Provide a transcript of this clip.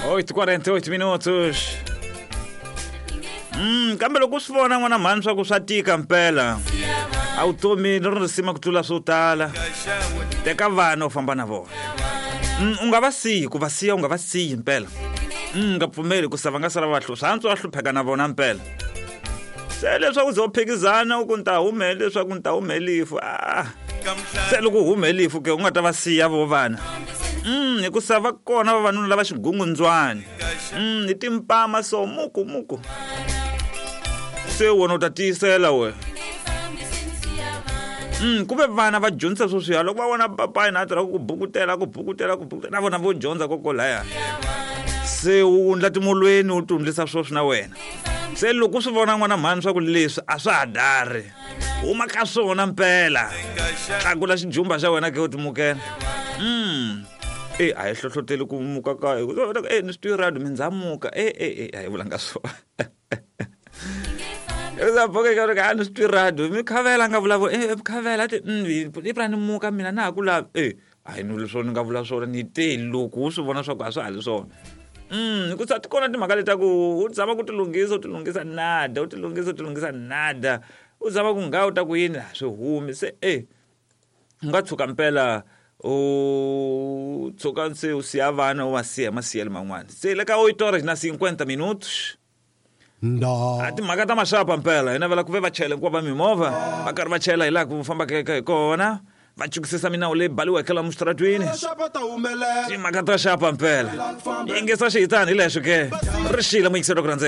8:48 minutos. Kambe loko u swi vona n'wana mhani swa ku swa tika mpela a vutomi ri risima ku tlula swo tala teka vana u famba na vona. U nga va siyi ku va siya u nga va siyi mpela. Nga pfumeli ku sa va nga sala va swa antswa va hlupheka na vona mpela. Se leswaku ze u phikizana u ku ni ta humele leswaku ni ta humelifu a se loko u humelifu ke u nga ta va siya vo vana. Hikusa va kona vavanuna lava xigungundzwani. Hi timpama so muku muku. Se wena u ta tiyisela we. Ku ve vana va dyondzisa sweswiya loko va vona papa yena a tirha ku bukutela ku bukutela ku bukutela na vona vo dyondza kokolaya. Se u wundla timolweni u ti wundlisa sweswi na wena. Se loko u swi vona n'wana mhani swa ku leswi a swa ha dari huma ka swona mpela tlakula xijumba xa wena ke u timukela. E a hi hlohloteli ku muka ka e ni swi tivi radio mi ndzamuka e e e a hi vulanga swona. A ni swi twi radio mi khavela a nga vulavula e khavela ti i pfula ni muka mina na ha ku lava e a hi ni swona ni nga vula swona ni te loko u swi vona swa ku a swa ha ri swona. Hikusa ti kona timhaka leti ta ku u zama ku ti lunghisa u ti lunghisa nada u ti lunghisa u ti lunghisa nada u zama ku nga u ta ku yini a swi humi se e u nga tshuka mpela u tshuka se u siya vana u va siya hi masiyelo man'wana. Se le ka 8 horas na 50 minutos. A timhaka ta maxapa mpela hi navela ku ve vachayela hinkwavo va mimovha va karhi va chayela hi laha ku fambaka hi kona va chukisisa minawu leyi baliweke lomu xitaratwini. Timhaka ta xapa mpela yingisa xihitani hi lexo ke ri xile muyingiseri wa ku rhandzeka.